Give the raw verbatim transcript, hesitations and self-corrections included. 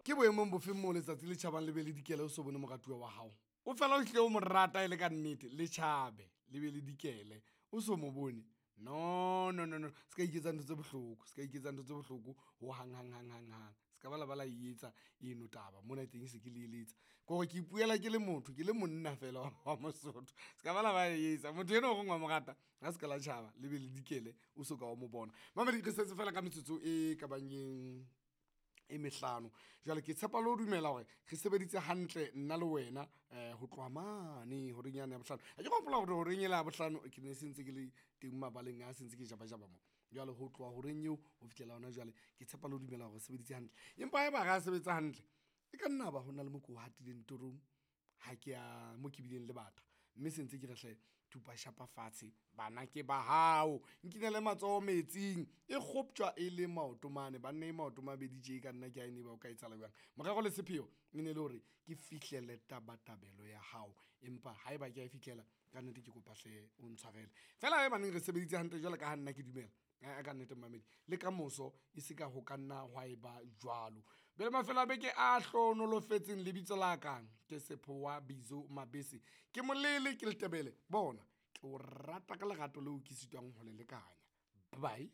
Ke boemong bofeng moo letsatsi le tjhabang le be le dikele o so bone moratuwa wa hao? O fela o hlile o mo rata e le ka nnete, le tjhabe le be le dikele o so mo bone. No no no no, se ka iketsa ntho tse bohloko, se ka iketsa ntho tse bohloko ho hang hang hang hang hang. Se ka ba la ba la e etsa eno taba mona teng se ke le eletsa. Ke hore ke ipuela ke le motho, ke le monna fela wa Mosotho. Se ka ba la ba e etsa motho enwa o reng wa mo rata ha se ka la tjhaba le be le dikele o so ka o mo bona. Mamedi re setse fela ka metsotso e ka bang e e mehlano. Jwale ke tshepa le ho dumela hore re sebeditse hantle nna le wena um ho tloha mane horeng yane ya bohlano. Ha ke hopola hore horeng ela ya bohlano ke ne se ntse ke le teng mabaleng a se ntse ke jabajaba mo. Jwale ho tloha horeng eo ho fihlela hona jwale, ke tshepa le ho dumela hore re sebeditse hantle. Empa haeba ha ra sebetsa hantle, e ka nna ba ho na le mo ko hatileng torong. Ha ke a mo ke bileng le batho, mme se ntse ke re hle thupa shapa fatshe bana ke ba hao. Nkinele matsoho metsing e kgoptjwa e le maoto mane, banna e maoto mabedi tje ka nna ke a ebe o ka etsahala jwang. Morero le sepheo e ne le hore ke fihlelle tabatabelo ya hao, empa haeba ke a e fihlela ka nnete, ke kopa hle o ntshwarele. Feela haebaneng re sebeditse hantle jwalo ka ha nna ke dumela aa ka nnete momamedi le kamoso e se ka ho ka nna hwa eba jwalo. Be le mafelo a beke a hlohonolofetseng. Lebitso la ka ke Sephowa Bizo Mabese, ke molele ke Letebele. Bona ke o rata ka lerato leo ke sitwang ho le lekanya. Bye.